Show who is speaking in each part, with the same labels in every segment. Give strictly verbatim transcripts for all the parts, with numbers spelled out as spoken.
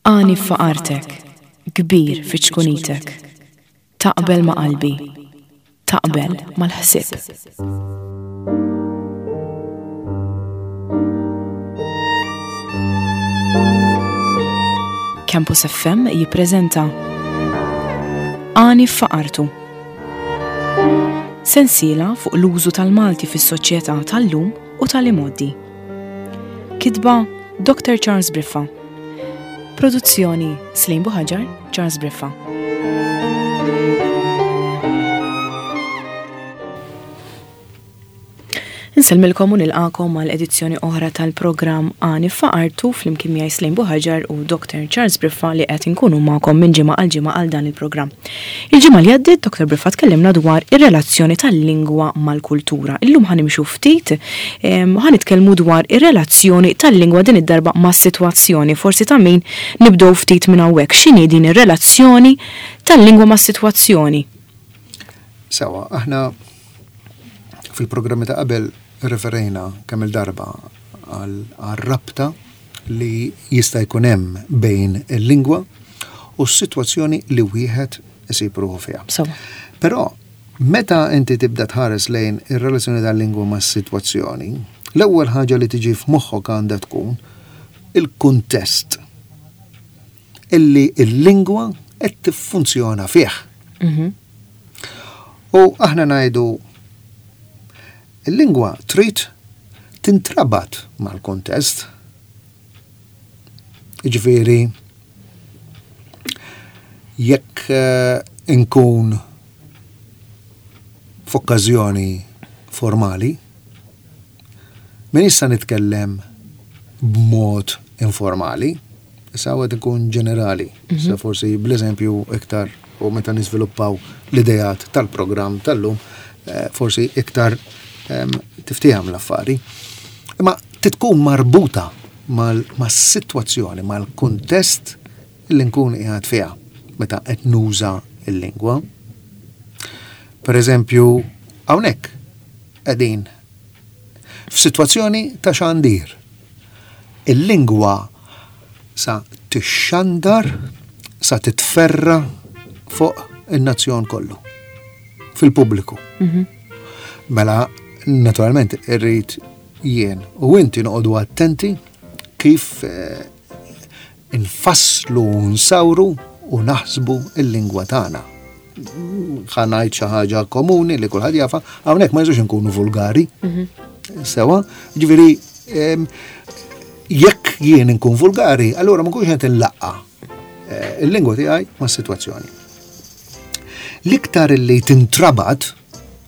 Speaker 1: Għani f'faqartek, kbir fi ċkunitek. Taqbel ma' qalbi, taqbel mal-ħsieb. Campus F M jippreżenta Għani f'faqartu. Sensiela fuq l-użu tal-Malti fis-soċjetà tal-lum u tal-imgħoddi. Kitba Doctor Charles Briffa. Produzzjoni Slim Buhaġar, Charles Briffa. Insellmilkom u nilqakom għal edizzjoni oħra tal-programm Għani f'Faqartu flimkien miegħi Slim Buhaġar u Doctor Charles Briffa li qed inkunu magħkom minn ġimgħa għal ġimgħa għal dan il-programm. Il-ġimgħa li għaddiet Doctor Briffa tkellimna dwar ir-relazzjoni tal-lingwa mal-kultura. Illum ħanimxu ftit, em, ħanitkellmu dwar ir-relazzjoni tal-lingwa din id-darba mas-sitwazzjoni. Forsi ta' min nibdew ftit minn hawnhekk. X'inhi din ir-relazzjoni tal-lingwa mas-sitwazzjoni?
Speaker 2: Sewa, aħna fil-programmi ta' qabel referejna kemm il-darba għal rabta li jista' jkun hemm bejn il-lingwa u s-sitwazzjoni li wieħed isib ruħu fiha.
Speaker 1: Sewa.
Speaker 2: Però meta inti tibda tħares lejn ir-relazzjoni tal-lingwa mas-sitwazzjoni, l-ewwel ħaġa li tiġi f'moħħok għandha tkun il-kuntest illi l-lingwa qed tiffunzjona fih.
Speaker 1: Mhm.
Speaker 2: U aħna ngħidu il-lingwa trid tintrabat mal-kuntest. Jiġifieri, jekk, eh, inkun f'okkażjoni formali, min issa nitkellem b'mod informali, issa għad ikun ġenerali,
Speaker 1: Mhm.
Speaker 2: issa forsi bl-eżempju iktar u meta niżviluppaw l-idejat tal-programm tal-lum, eh, forsi iktar, em, tiftiham l-affari. Imma titkun marbuta mal-, mas-sitwazzjoni, mal-kuntest li nkun qiegħed fiha meta qed nuża l-lingwa. Per eżempju, hawnhekk qegħdin f'sitwazzjoni ta' xandir. Il-lingwa sa tixxandar, sa titferra fuq in-nazzjon kollu, fil-pubbliku.
Speaker 1: Mhm.
Speaker 2: Mela, naturalment, irrid jien u inti noqogħdu attenti kif, eh, infasslu, nsawru u naħsbu il-lingwa tagħna. Ħa ngħid xi ħaġa komuni li kulħadd jafa, hawnhekk ma jiżux inkunu vulgari.
Speaker 1: Mhm.
Speaker 2: Sewa, ġifieri, em, jekk jien inkun vulgari, allura ma nkunx qed inlaqqa, eh, il-lingwa tiegħi mas-sitwazzjoni. L-iktar li tintrabat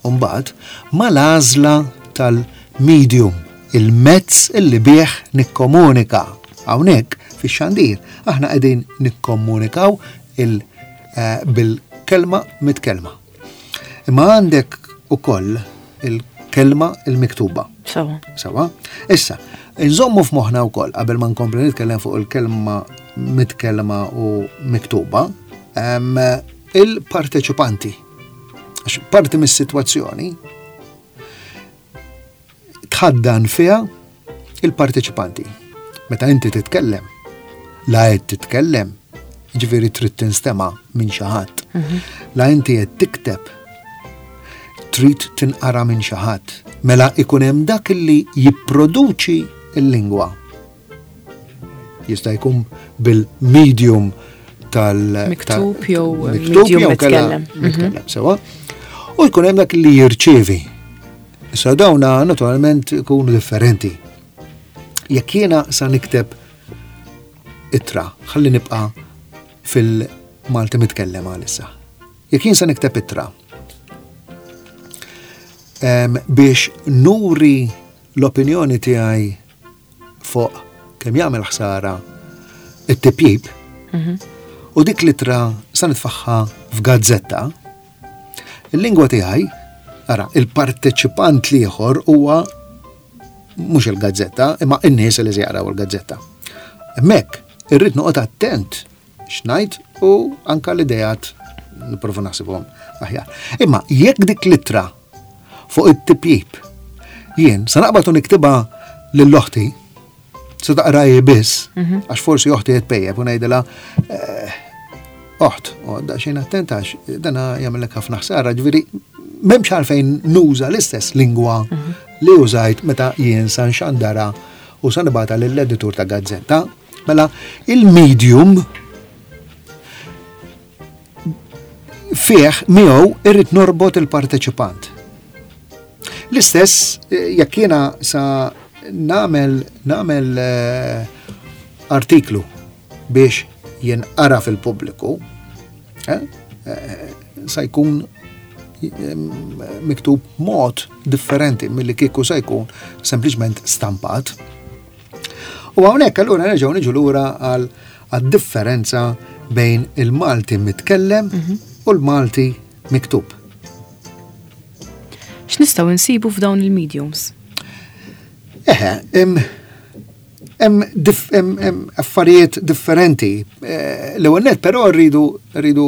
Speaker 2: mbagħad mal-għażla tal-medium, il-mezz illi bih nikkomunika. Hawnhekk fix-xandir aħna qegħdin nikkomunikaw il-, eh, bil-kelma mit-kelma. Imma għandek ukoll il-kelma il-miktuba.
Speaker 1: Sewa.
Speaker 2: Sewa. Issa, nżommu f'moħħna wkoll qabel ma nkompli nitkellem fuq il-kelma mitkellma u miktuba, em, il-parteċipanti. Għax parti mis-sitwazzjoni tħaddan fiha il-parteċipanti. Meta inti titkellem, la qed titkellem, ġifieri trid tinstema' minn xi ħadd.
Speaker 1: Mhm.
Speaker 2: La inti qed tikteb, trid tinqara minn xi ħadd. Mela ikun hemm dak li jipproduċi l-lingwa. Jista' jkun bil-medium tal-
Speaker 1: Miktub
Speaker 2: tal-
Speaker 1: jew
Speaker 2: miktub
Speaker 1: medium
Speaker 2: jew kellha
Speaker 1: mitkellem. Mhm.
Speaker 2: mitkellem, sewa. U jkun hemm dak li jirċievi. Issa dawna naturalment ikunu differenti. Jekk jiena sa nikteb ittra, ħalli nibqa' fil-Malti mitkellem għalissa. Jekk jien sa nikteb ittra, em, biex nuri l-opinjoni tiegħi fuq kemm jagħmel ħsara it-tipjib,
Speaker 1: Mhm.
Speaker 2: u dik l-ittra sa nitfaħħa f'gazzetta, il-lingwa tiegħi, ara, il-parteċipant l-ieħor huwa mhux il-gazzetta, imma n-nies li se jaqraw il-gazzetta. Hemmhekk irrid noqgħod attent x'ngħid u anka l-idejat nipprova naħsibhom aħjar. Imma jekk dik l-ittra fuq it-tipjib jien sa naqbad u niktibha lil oħti Se taqra hi biss, għax forsi oħti qed tpejjep u ngħidilha eh, oħt, u daqsxejn attent għax dana jagħmellek ħafna ħsara, ġifieri m'hemmx għalfejn nuża l-istess lingwa li użajt meta jien sa nxandara u sa nibgħatha lill-editur ta' gazzetta. Mela il-medium fih miegħu irrid norbot il-parteċipant. L-istess eh, jekk jiena sa nagħmel nagħmel eh, artiklu biex jinqara fil-pubbliku, eh, eh, sa jkun eh, miktub mod differenti milli kieku sa jkun sempliċement stampat. U hawnhekk allura nerġgħu niġu lura għal għad-differenza bejn il-Malti mitkellem u l-Malti miktub.
Speaker 1: X'nistgħu nsibu f'dawn il-mediums?
Speaker 2: Eħe, hemm hemm dif- hemm- hemm affarijiet differenti. Eh, L-ewwel nett però rridu rridu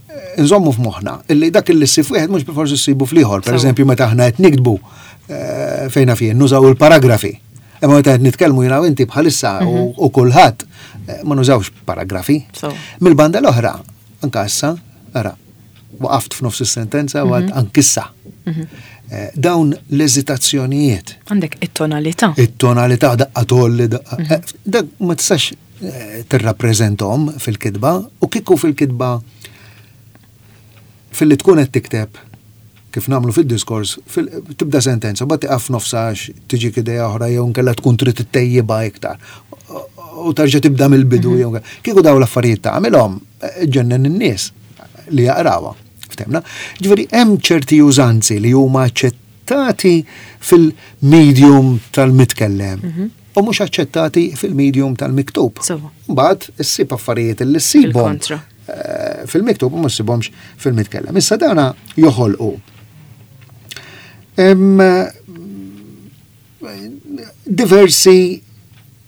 Speaker 2: eh, nżommu f'moħħna illi dak illi ssib wieħed mhux bilfors issibu fl-ieħor. Per
Speaker 1: Sewa.
Speaker 2: eżempju, meta aħna qed niktbu eh, fejna fien nużaw il-paragrafi. Imma meta qed nitkellmu jiena u inti bħalissa u u kulħadd eh, ma nużawx paragrafi.
Speaker 1: Sewa.
Speaker 2: Mill-banda l-oħra, anka issa, ara, waqaft f'nofs is-sentenza u għedt ankissa. Eh, Dawn l-eżitazzjonijiet,
Speaker 1: Għandek it-tonalità.
Speaker 2: it-tonalità daqqa tolli, daqqa. eh, Dak ma tistax eh, tirrappreżentahom fil-kitba u kieku fil-kitba fil-li tkun qed tikteb kif nagħmlu fid-diskors, fil- tibda sentenza, mbagħad tieqaf nofsha għax tiġik idea oħra jew nkella tkun trid ittejjibha iktar. U tarġa' tibda mill-bidu jew kieku dawn l-affarijiet tagħmilhom eh, ġennen in-nies li jaqrawha. Ftemna? Ġifieri hemm ċerti użanzi li huma aċċettati fil-medium tal-mitkellem u mhux aċċettati fil-medium tal-miktub.
Speaker 1: Sewa.
Speaker 2: Mbagħad issib affarijiet li ssibhom
Speaker 1: Fil-kontra.
Speaker 2: eh, fil-miktub u ma ssibhomx fil-mitkellem. Issa dawna joħolqu Em, diversi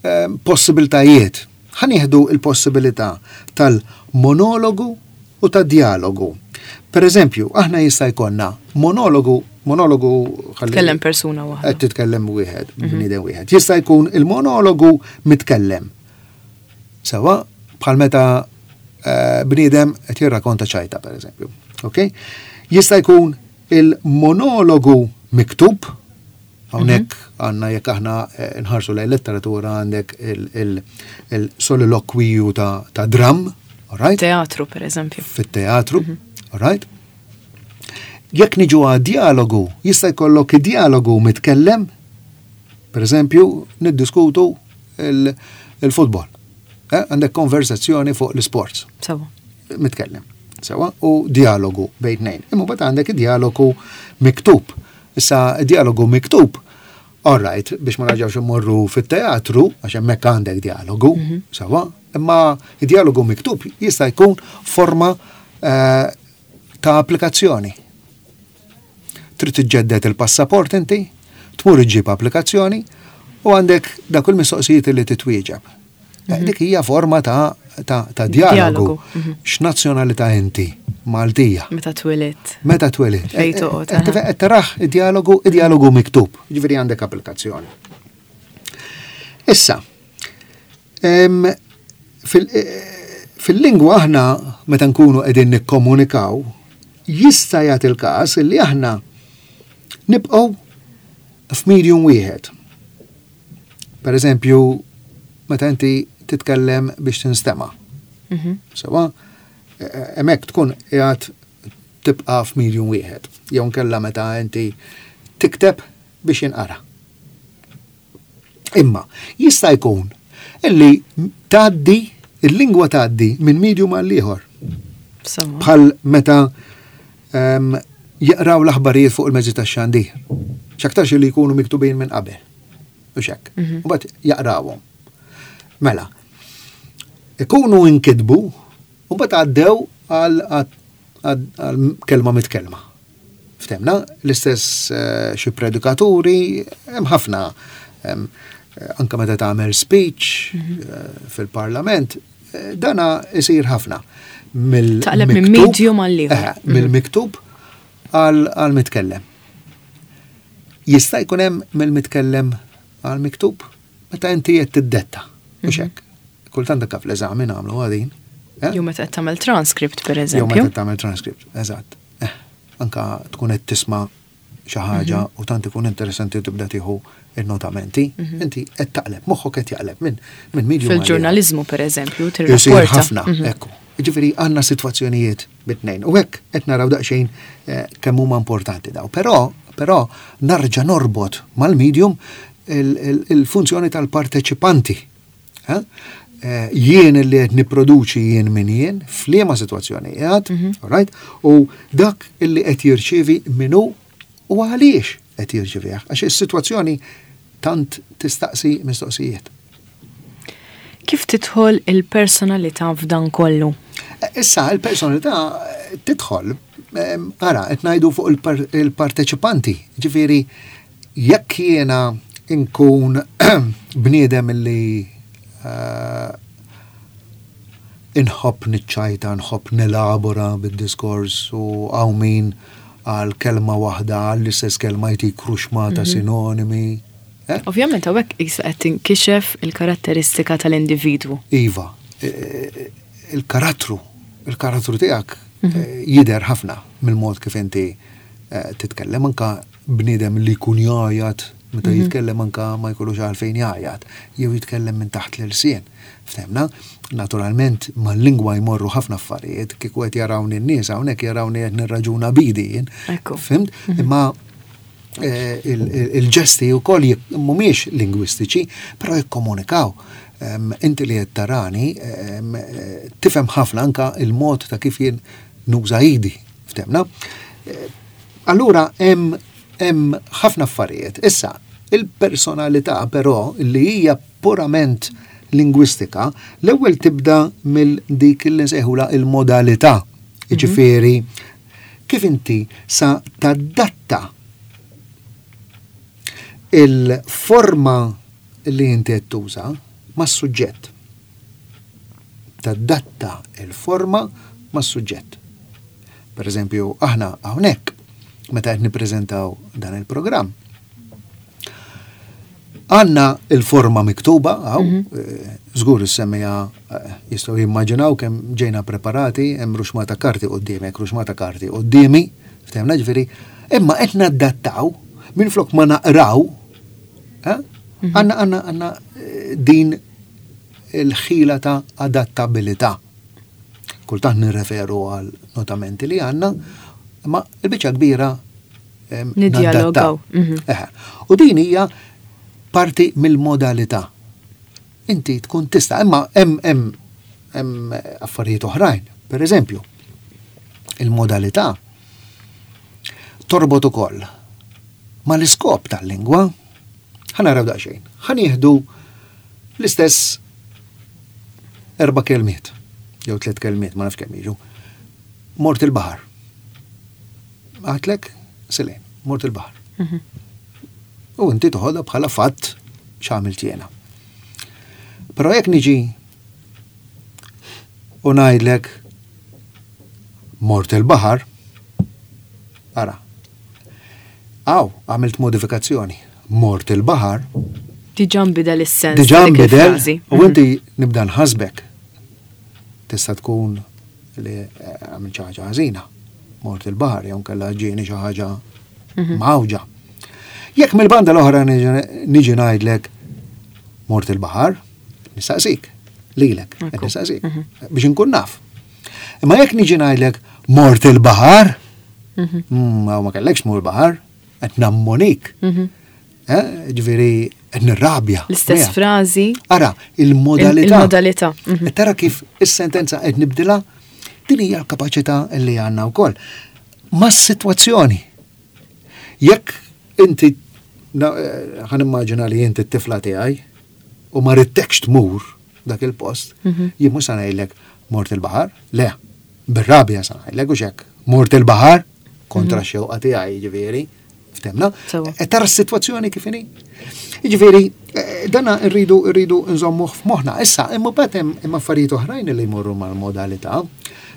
Speaker 2: em, possibiltajiet. Ħa nieħdu il-possibilità tal-monologu u tad-dialogu. Per eżempju, aħna jista' jkollna monologu, monologu ħalli-
Speaker 1: Tkellem persuna waħda.
Speaker 2: Qed titkellem wieħed, bniedem wieħed. Jista' jkun il-monologu mitkellem. Sewa, bħal meta eh, bniedem qed jirrakonta ċajta, per eżempju. Ok? Jista' jkun il-monologu miktub, hawnhekk għandna jekk aħna eh, nħarsu lejn letteratura għandek il-solilokwiju ta', ta' dram, all right?
Speaker 1: Teatru, per eżempju.
Speaker 2: Fit-teatru, all right? Jekk niġu għad dialogu, jista' jkollok dialogu mitkellem, per eżempju, niddiskutu il- il-futbol. Eh, Għandek konversazzjoni fuq l-sports
Speaker 1: Sewa.
Speaker 2: mitkellem. Sewa, u dialogu bejn tnejn. Imma mbagħad għandek dialogu miktub. Issa dialogu miktub, all right, biex ma narġawx immorru fit-teatru, għax hemmhekk għandek dialogu, sewa, imma dialogu miktub jista' jkun forma eh, ta' applikazzjoni. Trid tiġġedded il-passaport inti, tmur iġġib applikazzjoni u għandek dak il-mistoqsijiet li titwieġeb. Eh, Dik hija forma ta' ta', ta' dialogu.
Speaker 1: Dialogu, mhm.
Speaker 2: X'nazzjonalità inti? Maltija.
Speaker 1: Meta twilidt.
Speaker 2: Meta twilidt.
Speaker 1: Fejn toqgħod,
Speaker 2: Eh, eh,
Speaker 1: aha.
Speaker 2: eh, Taraħ id-dialogu, id-dialogu miktub. Ġifieri għandek applikazzjoni. Issa, em, fil- eh, fil-lingwa aħna meta nkunu qegħdin nikkomunikaw, jista' jagħti il-każ li aħna nibqgħu f'medium wieħed. Per eżempju, meta inti titkellem biex tinstema'.
Speaker 1: Mhm.
Speaker 2: Sewa, eh, hemmhekk tkun qiegħed tibqa' f'medium wieħed. Jew nkella meta inti tikteb biex jinqara. Imma jista' jkun illi tgħaddi il-lingwa tgħaddi minn medium għal ieħor.
Speaker 1: Sewa.
Speaker 2: Bħal meta em, jaqraw l-aħbarijiet fuq il-mezzi tax-xandir. X'aktarx li jkunu miktubin minn qabel. U xek. U mbagħad jaqrawhom. Mela, ikunu inkitbu u mbagħad għaddew għal għal- għal kelma mitkelma. Ftemna, l-istess eh, xi predikaturi, hemm ħafna em, eh, anka meta tagħmel speech eh, fil-parlament, eh, dana isir ħafna. Mill
Speaker 1: Taqleb minn medium għal ieħor.
Speaker 2: Eh, mill-miktub għal għal mitkellem. Jista' jkun hemm mill-mitkellem Għal miktub, meta inti qed tiddetta, mhux mhm. hekk. Kultant anke fl-eżami nagħmlu għadin.
Speaker 1: Eh? Jew meta qed tagħmel transcript, pereżempju.
Speaker 2: Jew meta tagħmel transcript, eżatt. Eh, anka tkun qed tisma' xi ħaġa mhm. u tant ikun interessanti u tibda tieħu il-notamenti, mhm. inti qed taqleb, moħħok qed jaqleb minn minn
Speaker 1: medium. Fil-ġurnaliżmu, pereżempju, tirrapporta.
Speaker 2: Ħafna, mhm. ekku. Ġifieri għandna sitwazzjonijiet bit-tnejn. U hekk qed naraw daqsxejn eh, kemm huma importanti daw. Però però narġa' norbot mal-medium il-funzjoni tal-parteċipanti. Eh? Eh, jien li qed nipproduċi, jien min jien, f'liema sitwazzjoni qiegħed, mhm. right? U dak illi qed jirċievi minnu u għaliex qed jirċevih, għax is-sitwazzjoni tant tistaqsi mistoqsijiet.
Speaker 1: Kif tidħol il-personalità f'dan kollu?
Speaker 2: Eh, issa, il-personalità tidħol, ara, qed ngħidu fuq il-parteċipanti, ġifieri, jekk jiena inkun bniedem li uh, inħobb niċċajta, nħobb nelabora bid-diskors u hawn min għal kelma waħda, għall-istess kelma jtik ruxmata mm -hmm. sinonimi.
Speaker 1: Eh? Ovvjament, hawnhekk issa qed tinkixef il-karatteristika tal-individwu.
Speaker 2: Iva, e, e, il-karattru, il-karattru tiegħek mm -hmm. jidher ħafna mill-mod kif inti titkellem, anka bniedem li jkun jgħajjat meta mm -hmm. jitkellem, anka ma jkollux għalfejn jgħajjat, jew jitkellem minn taħt l-ilsien. Ftemna, naturalment mal-lingwa jmorru ħafna affarijiet, kieku qed jarawni n-nies hawnhekk, jarawni qed nirraġuna bidi jien. Fhimt? Mhm. Imma eh, il-ġesti wkoll mhumiex lingwistiċi, però jikkomunikaw. Inti li qed tarani tifhem ħafna anka il-mod ta' kif jien nuża idi. Ftemna? Eh, allura hemm hemm ħafna affarijiet. Issa, il-personalità però li hija purament lingwistika, l-ewwel tibda mill dik li nsejħula il-modalità. Mhm. Jiġifieri, kif inti sa tadatta il-forma li inti qed tuża mas-suġġett. Tadatta il-forma mas-suġġett. Per eżempju, aħna hawnhekk meta qed nippreżentaw dan il-programm, għandna il-forma miktuba, għaw, mm -hmm. żgur is-semmiegħa eh, jistgħu jimmaġinaw kemm ġejna preparati, hemm ruxmata karti qudiemek, ruxmata karti quddiemi, ftehmna, ġifieri, imma qed nadattaw minn flok ma naqraw, eh? mhm. għandna għandna għandna din il-ħila ta' adattabilità. Kultant nirreferu għal notamenti li għandna, ma il-biċċa kbira
Speaker 1: niddialogaw.
Speaker 2: Mhm. U din hija parti mill-modalità. Inti tkun tista', imma hemm hemm hemm affarijiet oħrajn. Per eżempju, il-modalità torbot ukoll ma l-iskop tal-lingwa. Ħa naraw daqsxejn. Ħa nieħdu l-istess erba' kelmiet, jew tliet kelmiet, ma nafx kemm jiġu. Mort il-baħar. Għedtlek, Selin, mort il-baħar. Mhm. U inti toħodha bħala fatt x'għamilt jiena. Però jekk niġi u ngħidlek "mort il-baħar", ara, għaw, għamilt modifikazzjoni. Mort il-baħar.
Speaker 1: Diġà nbidel is-sens.
Speaker 2: Diġà nbidel, u mhm. inti nibda nħasbek. Tista' tkun li eh, għamilt xi ħaġa ħażina. Mort il-baħar, jew kellha ġieni xi ħaġa mhm. mawġa. Jekk mill-banda l-oħra niġi ngħidlek "mort il-baħar", nistaqsik, lilek, nistaqsik, mhm. biex inkun naf. Imma jekk niġi ngħidlek "mort il-baħar", mhm. mm, ma kellekx mur baħar, qed nammonik. Mhm. Eh, ġifieri qed nirrabja.
Speaker 1: L-istess frażi.
Speaker 2: Ara, il-modalità.
Speaker 1: Il-modalità.
Speaker 2: Tara kif is-sentenza qed nibdilha, din hija l-kapaċità li għandna wkoll. Ma' s-sitwazzjoni. Jekk inti, eh, ħa nimmaġina li inti t-tifla tiegħi u ma ridtekx tmur dak il-post, mhm. jien mhux sa ngħidlek "mort il-baħar", le, bir-rabja sa ngħidlek u xek, "mort il-baħar" kontra mhm. xewqa tiegħi, ġifieri, ftemna. E tara s-sitwazzjoni kif inhi? Ġifieri, eh, dana rridu rridu nżommuh f'moħħna. Issa, imma mbagħad hemm affarijiet oħrajn li jmorru mal-modalità.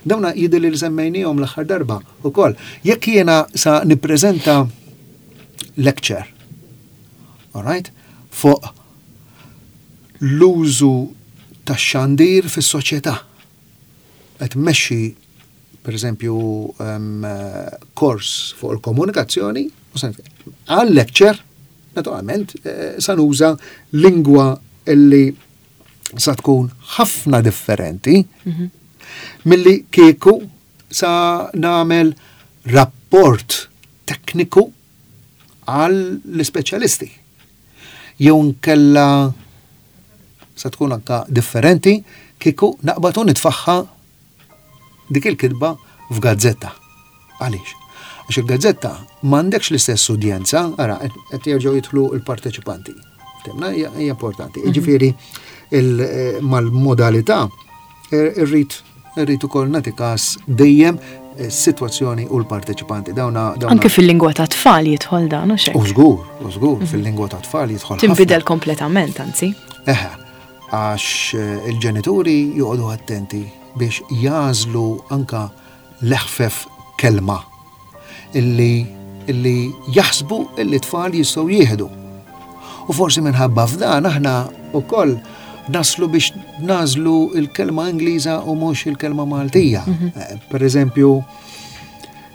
Speaker 2: Dawna jidher li semmejnihom l-aħħar darba ukoll. Jekk jiena sa nippreżenta lecture, all right, fuq l-użu tax-xandir fis-soċjetà. Qed mmexxi, per eżempju, kors fuq il-komunikazzjoni, għal lecture, naturalment, eh, sa nuża lingwa illi sa tkun ħafna differenti mhm. milli kieku sa nagħmel rapport tekniku għall ispeċjalisti. Jew nkella sa tkun anka differenti kieku naqbad u nitfagħha dik il-kitba f'gazzetta. Għaliex? Għax il-gazzetta m'għandekx l-istess udjenza, ara, qed jerġgħu jidħlu l-parteċipanti. Temna hija importanti. Mhm. Jiġifieri eh, mal-modalità eh, irrid irrid ukoll nagħti każ dejjem is-sitwazzjoni u l-parteċipanti. Dawna,
Speaker 1: Anke fil-lingwa ta' tfal jidħol dan, u
Speaker 2: U żgur, u żgur, mhm. fil-lingwa ta' tfal jidħol.
Speaker 1: Tinbidel kompletament, anzi.
Speaker 2: Eħe, għax eh, il-ġenituri joqogħdu attenti biex jagħżlu anka l-eħfef kelma illi illi jaħsbu illi tfal jistgħu jieħdu. U forsi minħabba f'dan aħna wkoll naslu biex nagħżlu il-kelma Ingliża u mhux il-kelma Maltija. Mhm. Eh, per eżempju,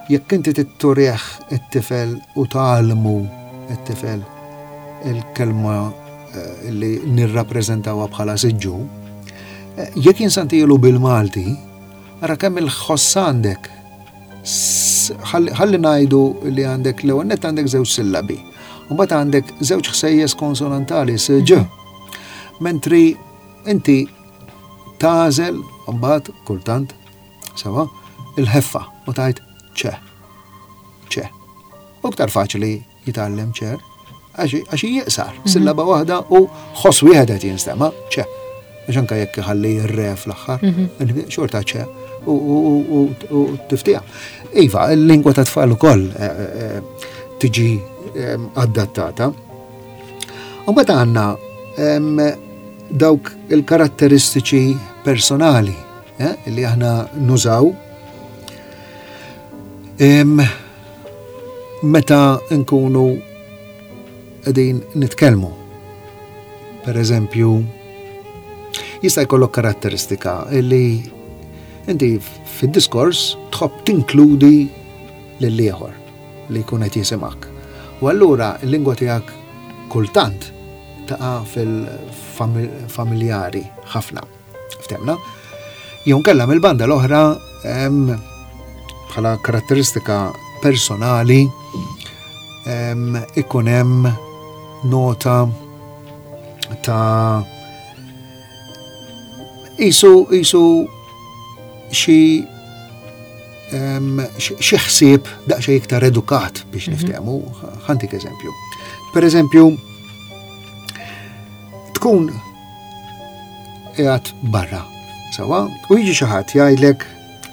Speaker 2: jekk inti titturih it-tifel u tgħallmu it-tifel il-kelma eh, li nirrappreżentawha bħala siġġu, eh, jekk jien sa ntihielu bil-Malti, ara kemm il-ħoss għandek. Ħalli ngħidu li għandek l-ewwel nett għandek żewġ sillabi. U mbagħad għandek żewġ ħsejjes konsonantali s ġ. Mentri inti tagħżel mbagħad kultant sewa il-ħeffa u tgħid ċe. ċe. U iktar faċli jitgħallem chair għax jiqsar, mhm. sillaba waħda u ħoss wieħed qed jinstema' ċe. Għax anke jekk iħalli r-re fl-aħħar, mhm. xorta ċe u tiftija. Iva, il-lingwa ta' tfal ukoll eh, eh, tiġi adattata. U mbagħad għandna dawk il-karatteristiċi personali eh, li aħna nużaw meta nkunu qegħdin nitkellmu. Per eżempju, jista' jkollok karatteristika li inti fid-diskors tħobb tinkludi lil ieħor li jkun qed jisimgħek. U allura l-lingwa tiegħek kultant taqa' fil-familjari ħafna. Ftemna? Jew nkella mill-banda l-oħra bħala karatteristika personali ikun hemm nota ta' isu isu xi xi ħsieb daqsxejn iktar edukat biex mhm. niftehmu. Ħa ntik eżempju. Per eżempju, tkun qiegħed barra, sewa, u jiġi xi ħadd jgħidlek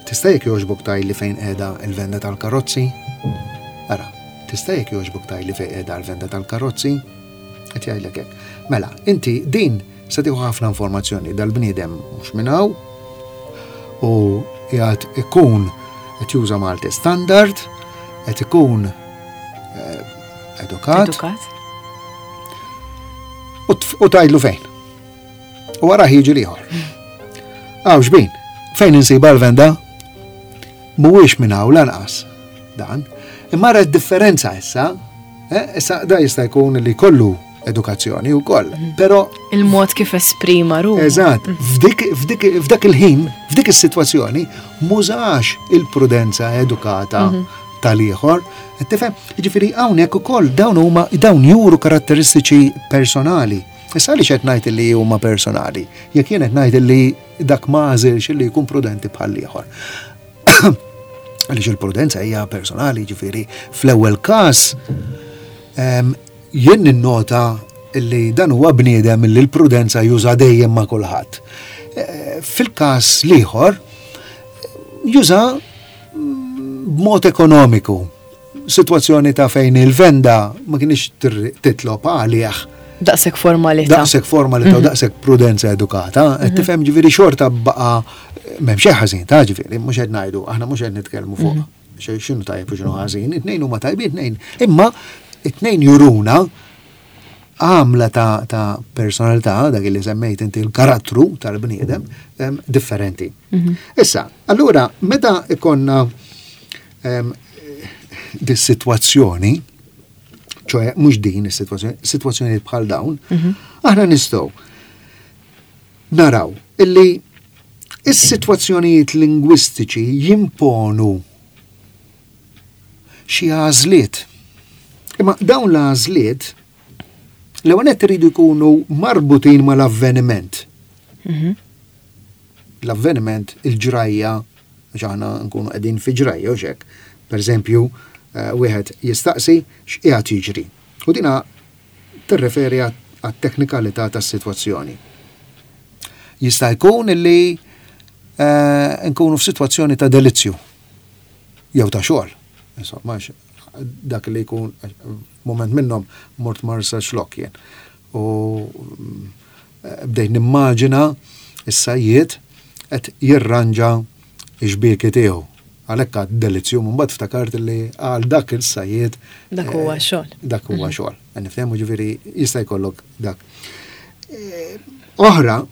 Speaker 2: tista' jekk jogħġbok tgħidli fejn qiegħda il-venda tal-karozzi? Ara, tista' jekk jogħġbok tgħidli fejn qiegħda l-venda tal-karozzi? Qed jgħidlek hekk. Mela, inti din se tieħu ħafna informazzjoni dal-bniedem mhux minn hawn u qiegħed ikun qed juża Malti standard, qed ikun eh, edukat.
Speaker 1: Edukat.
Speaker 2: U tgħidlu fejn. U wara jiġi l-ieħor. Aw xbin, fejn insiba l-venda? Mhuwiex minn hawn lanqas dan. Imma ra differenza issa, eh, issa da jista' jkun li kollu edukazzjoni wkoll, mhm. però
Speaker 1: il-mod kif esprima ruħu.
Speaker 2: Eżatt, f'dik f'dik f'dak il-ħin, f'dik is-sitwazzjoni mużax il-prudenza edukata mhm. tal-ieħor. Tifhem, jiġifieri hawnhekk ukoll dawn huma dawn juru karatteristiċi personali. Issa għaliex qed ngħid li huma personali? Jekk jien qed ngħid li dak ma għażilx li jkun prudenti bħal ieħor. Għaliex il-prudenza hija personali, ġifieri fl-ewwel każ jien ninnota li dan huwa bniedem li l-prudenza juża dejjem ma' kulħadd. Eh, fil-każ l-ieħor juża b'mod ekonomiku. Situazzjoni ta' fejn il-venda ma kienx titlob għalih.
Speaker 1: Daqshekk formalità.
Speaker 2: Daqshekk formalità u mhm. daqshekk prudenza edukata. Mhm. Tifhem ġifieri xorta baqa' m'hemm xejn ħażin ta' ġifieri, mhux qed ngħidu, aħna mhux qed nitkellmu fuq mhm. x'inhu tajjeb u x'inhu ħażin, it-tnejn huma tajbin, tnejn. Imma it-tnejn juruna għamla ta', ta personalità, dak li semmejt inti l-karattru tal-bniedem, differenti. Mm -hmm. Issa, allura, meta ikonna um, dis-sitwazzjoni, ċoħe mhux din is-sitwazzjoni, sitwazzjoni bħal dawn, mm -hmm. aħna nistgħu naraw illi is-sitwazzjonijiet lingwistiċi jimponu xi għażliet. Imma dawn l-għażliet l-ewwel nett iridu jkunu marbutin mal-avveniment. Mm -hmm. L-avveniment, il-ġrajja, għax aħna nkunu qegħdin fi ġrajja u xek. Per eżempju, uh, wieħed jistaqsi x'qiegħed jiġri. U dina tirreferi għat-teknikalità tas-sitwazzjoni. Jista' jkun illi uh, nkunu f'sitwazzjoni ta' delizzju jew ta' xogħol. Insomma, dak li jkun moment minnhom mort Marsaxlokk jien. U bdejt nimmaġina is-sajjied qed jirranġa x-xbieki tiegħu. Għalhekk għad delizzju, mbagħad ftakart li għal dak il-sajjied
Speaker 1: Dak huwa xogħol.
Speaker 2: Dak huwa xogħol. Niftehmu, ġifieri jista' jkollok dak. Oħra,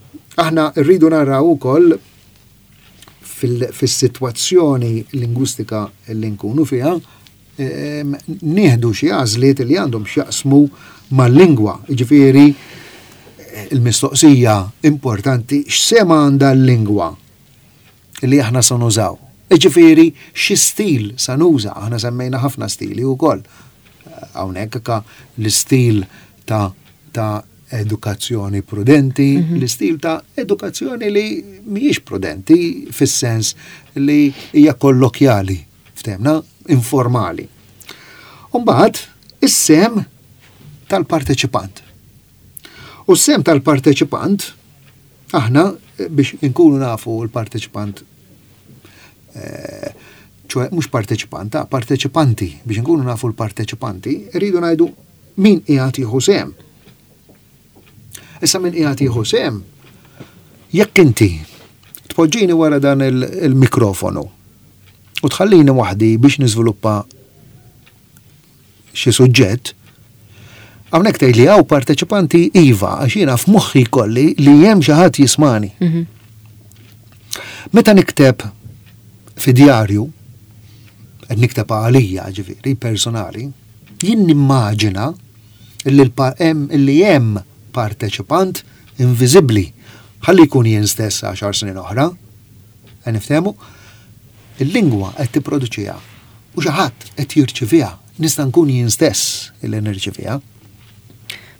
Speaker 2: aħna rridu naraw ukoll fis-sitwazzjoni lingwistika li nkunu fiha, nieħdu xi għażliet li għandhom x'jaqsmu mal-lingwa. Ġifieri il-mistoqsija importanti x'sehem għandha l-lingwa li aħna sa nużaw. Ġifieri xi stil sa nuża, aħna semmejna ħafna stili wkoll. Hawnhekk ka l-istil ta' ta' edukazzjoni prudenti, mm -hmm. l-istil ta' edukazzjoni li mhijiex prudenti fis-sens li hija kollokjali, ftehmna, informali. Umbagħad is-sehem tal-parteċipant. U s-sehem tal-parteċipant, aħna biex inkunu nafu l-parteċipant, ċoħe mhux parteċipant, ta' parteċipanti, biex inkunu nafu l-parteċipanti, rridu ngħidu min qiegħed jieħu sehem. Issa min qiegħed jieħu sehem, jekk inti tpoġġini wara dan il-mikrofonu u tħallini waħdi biex niżviluppa xi suġġett, hawnhekk tgħid li hawn parteċipanti, iva, għax jiena f'moħħi kolli li hemm xi ħadd jismani. Meta nikteb fi djarju, qed nikteb għalija, ġifieri personali, jien nimmaġina illi illi hemm parteċipant inviżibbli, ħalli jkun jien stess għaxar snin oħra, niftehmu, il-lingwa qed tipproduċiha u xi ħadd qed jirċiviha, nista' nkun jien stess illi nirċiviha.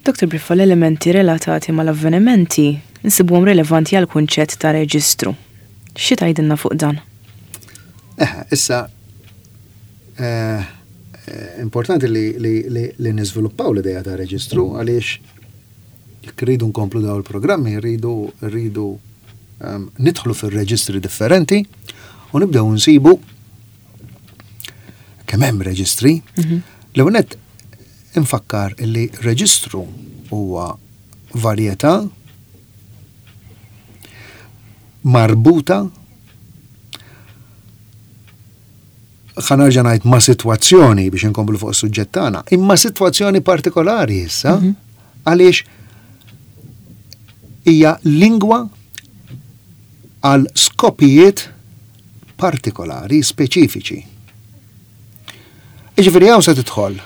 Speaker 1: Doktor Briffa, l-elementi relatati mal-avvenimenti nsibuhom rilevanti għal kunċett ta' reġistru. Xi tgħidilna fuq dan?
Speaker 2: Eh, issa eh, importanti li, li, li, li niżviluppaw l-idea ta' reġistru, għaliex jekk rridu nkomplu daw il-programmi, rridu rridu um, nidħlu fir-reġistri differenti u nibdew nsibu kemm hemm reġistri. L-ewwel nett infakkar illi reġistru huwa varjetà marbuta, ħa nerġa' ngħid, ma' sitwazzjoni biex inkomplu fuq is-suġġett tagħna, imma sitwazzjoni partikolari issa, għaliex hija lingwa għal skopijiet partikolari, speċifiċi. Iġifieri hawn se tidħol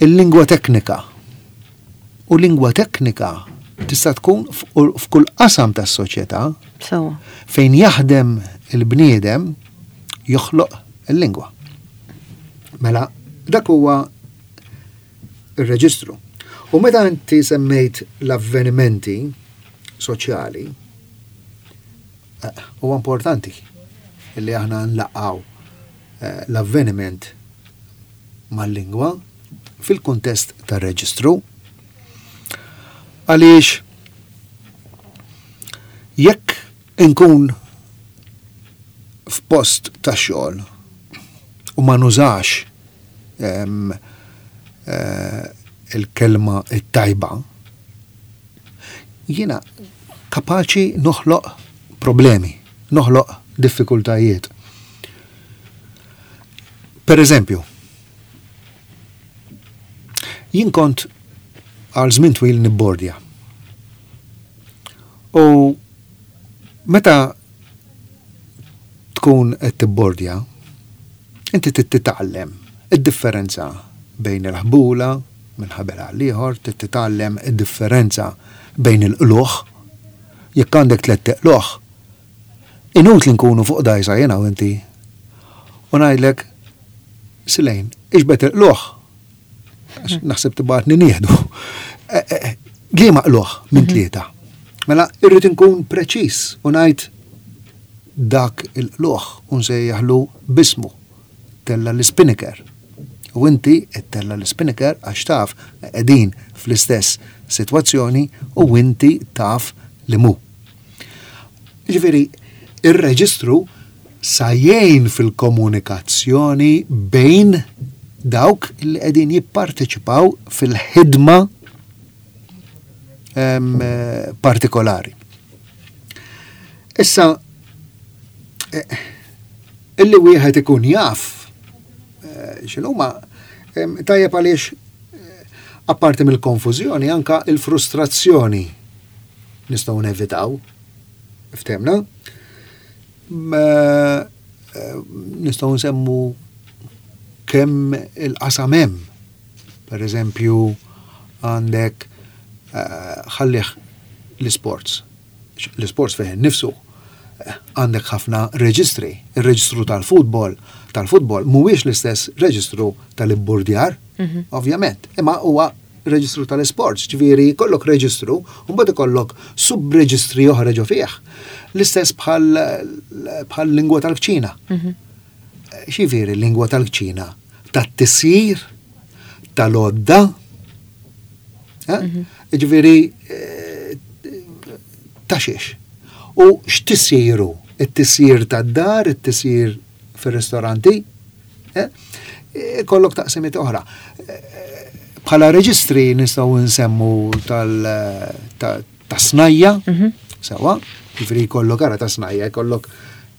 Speaker 2: il-lingwa teknika. U lingwa teknika tista' tkun f'kull qasam tas-soċjetà fejn jaħdem il-bniedem joħloq il-lingwa. Mela, dak huwa ir-reġistru. U meta inti semmejt l-avvenimenti soċjali, huwa importanti illi aħna nlaqgħu l-avveniment mal-lingwa fil-kuntest tar-reġistru. Għaliex jekk inkun f'post ta' xogħol u ma nużax il-kelma it-tajba, jiena kapaċi noħloq problemi, noħloq diffikultajiet. Per eżempju, jien kont għal żmien twil nibbordja. U meta tkun qed tibbordja, inti trid titgħallem id-differenza bejn il-ħbula minn ħabel għal ieħor, trid titgħallem id-differenza bejn il-qlugħ. Jekk għandek tliet qlugħ, inutli nkunu fuq dgħajsa jiena u inti. U ngħidlek, "Silejn, iġbed il-qlugħ." Għax naħseb tibgħatni nieħdu. Eh, eh, Liema qlugħ minn tlieta? Mela, irrid inkun preċis u ngħid dak il-qlugħ u nsejjaħlu b'ismu. Tella' l-spinnaker. U inti tella' l-spinnaker għax taf qegħdin fl-istess sitwazzjoni u inti taf li mu. Ġifieri, ir-reġistru sa jgħin fil-komunikazzjoni bejn dawk li qegħdin jipparteċipaw fil-ħidma em, eh, partikolari. Issa, eh, illi wieħed ikun jaf eh, x'inhuma em, tajjeb għaliex eh, apparti mill-konfużjoni anka il-frustrazzjoni nistgħu nevitaw. Ftemna? Ma, eh, Nistgħu nsemmu kemm il-qasam hemm. Per eżempju, għandek eh, ħallih l-sports. L-sports fih nifsu eh, għandek ħafna reġistri. Il-reġistru tal-futbol, tal-futbol mhuwiex l-istess reġistru tal-ibburdjar, ovvjament, imma huwa reġistru tal-sports, ġifieri jkollok reġistru, u mbagħad ikollok subreġistri oħra ġo fih. L-istess bħal bħal lingwa tal-kċina. Xifieri lingwa tal-kċina? Tat-tisjir, tal-għodda, eh? Ġifieri eh, ta' xiex. U x'tisjiru? It-tisjir tad-dar, it-tisjir fir-ristoranti, eh? Ikollok taqsimiet oħra. Eh, Bħala reġistri nistgħu nsemmu tal ta' ta' snajja, sewa, ġifieri jkollok ara ta' snajja, jkollok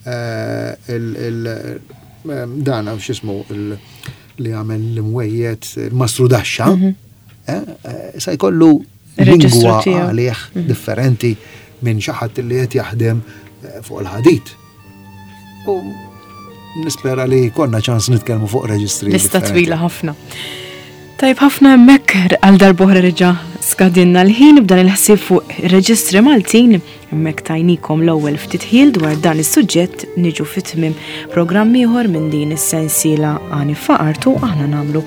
Speaker 2: eh, il- il- eh, dan x'ismu il- li għamel l-imwejjed, il-mastru daxxa, eh, eh, sa jkollu
Speaker 1: Il-reġistru
Speaker 2: lingwa
Speaker 1: tiegħu.
Speaker 2: għalih differenti minn xi ħadd li qed jaħdem eh, fuq il-ħadid. U nispera li konna ċans nitkellmu fuq reġistri.
Speaker 1: Lista
Speaker 2: differenti.
Speaker 1: twila ħafna. Tajb ħafna, hemmhekk għal darb'oħra reġa' skadinna l-ħin b'dan il-ħsieb fuq reġistri Maltin. Hemmhekk tajnikom l-ewwel ftit ħil dwar dan is-suġġett. Niġu fit-tmiem programm ieħor minn din is-sensiela Għani F'Artu. Aħna nagħmlu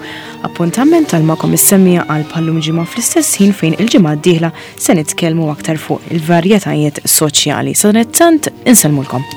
Speaker 1: appuntament għal magħkom is-semmiegħa għal bħal-lum ġimgħa fl-istess ħin, fejn il-ġimgħa d-dieħla se nitkellmu aktar fuq il-varjetajiet soċjali. Sadanittant insellmulkom.